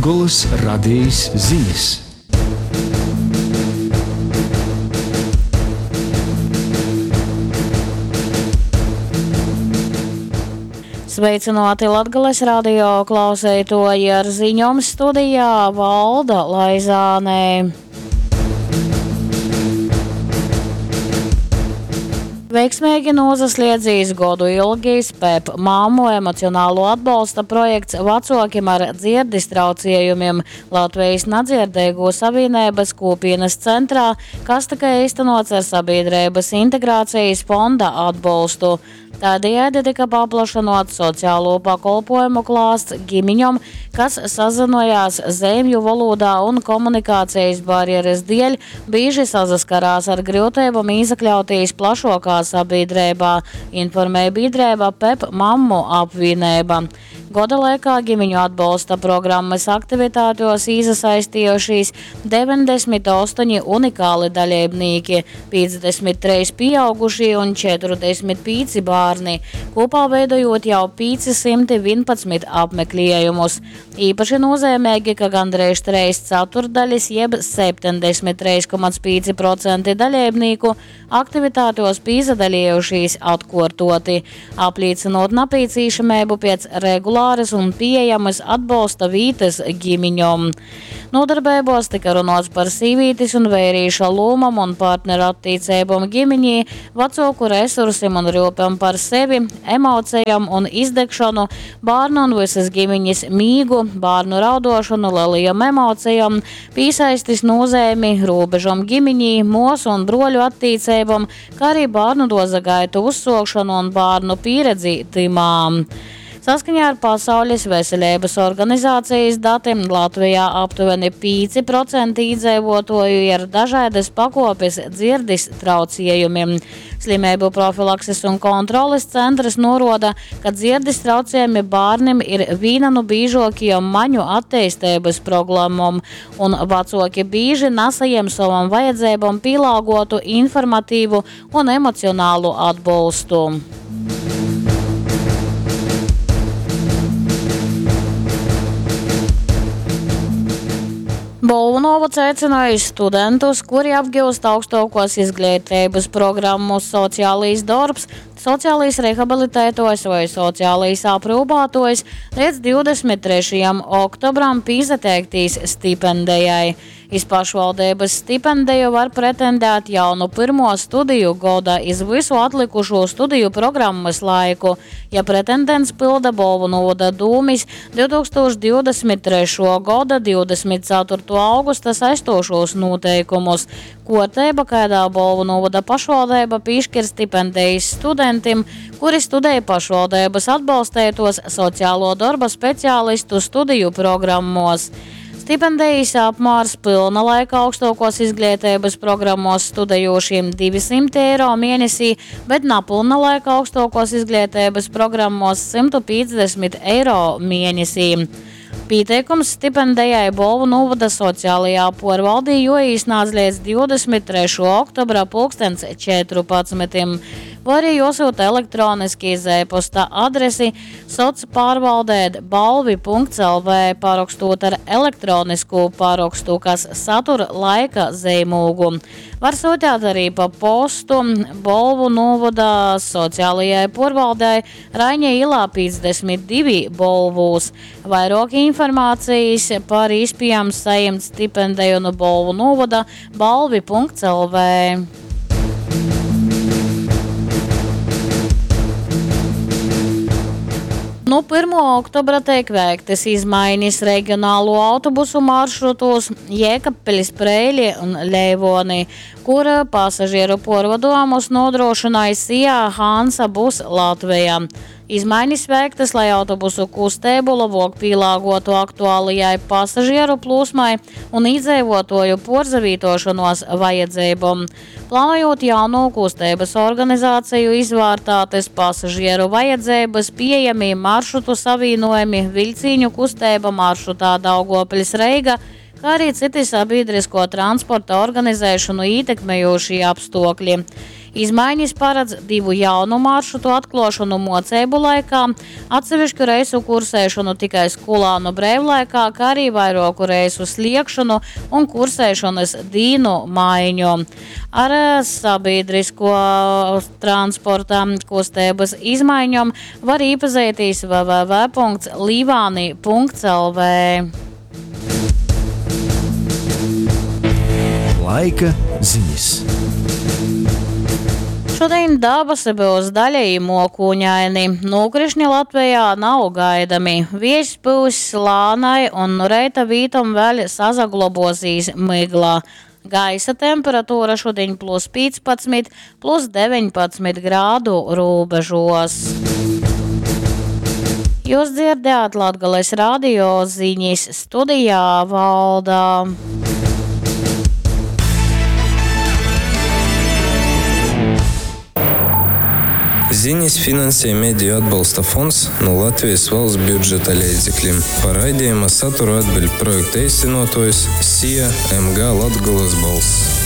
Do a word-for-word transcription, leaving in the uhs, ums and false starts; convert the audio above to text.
Latgolys Radejis zinis. Sveicināti Latgales radio klauseitoji ar ziņom studijā Valda Laizānē. Veiksmīgi nūsasliedzīs godu ilgīs P E P māmu emocionālo atbalsta projekts vecokiem ar dzierdis traucējumiem Latvijas nadzirdīgo savienības kopienas centrā, kas tika īstenots ar sabiedrības integrācijas fonda atbalstu. Tādējādi tika paplašinot sociālo pakolpojumu klāsts ģimiņom, kas sazinojās zemju valodā un komunikācijas barjeras dēļ bieži saskarās ar grūtībām iekļauties plašākā sabiedrībā, informēja biedrība P E P mammu apvienība. Gada laikā ģimeņu atbalsta programmas aktivitātēs iesaistījušies deviņdesmit astoņi unikāli dalībnieki, piecdesmit trīs pieaugušie un četrdesmit pieci bērni, kopā veidojot jau pieci simti vienpadsmit apmeklējumus. Īpaši nozīmīgi, ka gandrīz trīs ceturdaļas jeb septiņdesmit trīs komats pieci procenti dalībnieku aktivitātēs piedalījušies atkārtoti, apliecinot nepieciešamību pēc regulāras un pieejamas atbalsta vītas ģimiņom. Nodarbībos tika runāts par sīvītes un vērīša lomam un partneru attiecībām ģimiņī, vecāku resursiem un rūpēm par sevi, emocijām un izdegšanu, bērnu un visas ģimiņas mīgu, bērnu raudošanu, lielajām emocijām, piesaistis nozīmi, robežam ģimiņī, mūsu un broļu attiecībām, kā arī bērnu doza gaitu uzsokšanu un bērnu pieredzi timām. Saskaņā ar Pasaules veselības organizācijas datiem Latvijā aptuveni pieci procenti iedzīvotāju ir dažādas pakopes dzirdis traucējumiem. Slimību profilakses un kontroles centrs noroda, ka dzirdis traucējumi bērniem ir viena no biežākajām maņu attīstības problēmām, un vecāki bieži nesajiem savam vajadzībām pielāgotu informatīvu un emocionālu atbalstu. Bolvu novads aicināja studentus, kuri apgūst augstākos izglītības programmu sociālais darbs, sociālais rehabilitētājs vai sociālais aprūpētājs līdz divdesmit trešajam oktobram pieteikties stipendijai. Iz pašvaldības stipendiju var pretendēt jau no pirmo studiju goda iz visu atlikušo studiju programmas laiku, ja pretendents pilda Bolvu novada dūmis divtūkstoš divdesmit trešo gada divdesmit ceturto augusta saistošos noteikumus. Korteiba, kādā Bolvu novada pašvaldība piešķir stipendijas studentim, kuri studēja pašvaldības atbalstētos sociālo darba speciālistu studiju programmos. Stipendijas apmērs pilna laika augstākos izglītības programmos studējošiem divi simti eiro mēnesī, bet napilna laika augstākos izglītības programmos simtu piecdesmit eiro mēnesī. Pieteikums stipendijai Bolvu novada sociālajā porvaldī joīsnāc līdz divdesmit trešo oktobra pulkstens četrpadsmitim. Vai arī jāsūta elektroniski iz e-posta adresi socpārvaldēt balvi punkts L V parakstot ar elektronisku parakstu, kas satur laika zīmogu. Var sūtīt arī pa postu Bolvu novada sociālajai porvaldei Raiņa ielā piecdesmit divi Bolvūs. Vairāk informācijas par iespējām saņemt stipendiju no Bolvu novada balvi punkts L V. Nu, pirmo oktobra tiek veiktas izmaiņas reģionālo autobusu maršrutos Jēkabpilis, Preili un Leivoni, kur pasažieru porvadojumus nodrošināja S I A Hansa Bus Latvija. Izmaiņas veiktas, lai autobusu kustību labāk pielāgotu aktuālajai pasažieru plūsmai un iedzīvotāju porzavītošanos vajadzībām. Plānojot jauno kustības organizāciju, izvērtātas pasažieru vajadzības, pieejami maršrutu savienojumi, vilciņu kustība maršrutā Daugavpils Reiga, kā arī citi sabiedrisko transporta organizēšanu ietekmējošie apstākļi. Izmaiņas paradz divu jaunu maršrutu atkluošonu muoceibu laikā, atsevišku reisu kursēšonu tikai skolānu breivlaikā, kā arī vairuoku reisu sliegšonu un kursēšonys dīnu maiņu. Ar sabiedrisko transporta kusteibys izmaiņom var īpazeitīs www.līvāni.lv. Laika ziņas. Šodien dabasi būs daļēji mokūņaini. Nokrišņi Latvijā nav gaidami. Viejs pūs lānai un nu reita vītom vēl sazaglobosīs mygla. Gaisa temperatūra šodien plus piecpadsmit, plus deviņpadsmit grādu robežos. Jūs dzirdējāt Latgales radio ziņas studijā Valda. Ziņas finansē Mediju atbalsta fonds no Latvijas valsts budžeta leidzekļiem. Par raidījuma saturu atbild projekta īstenotājs S I A M G Latgolas balss.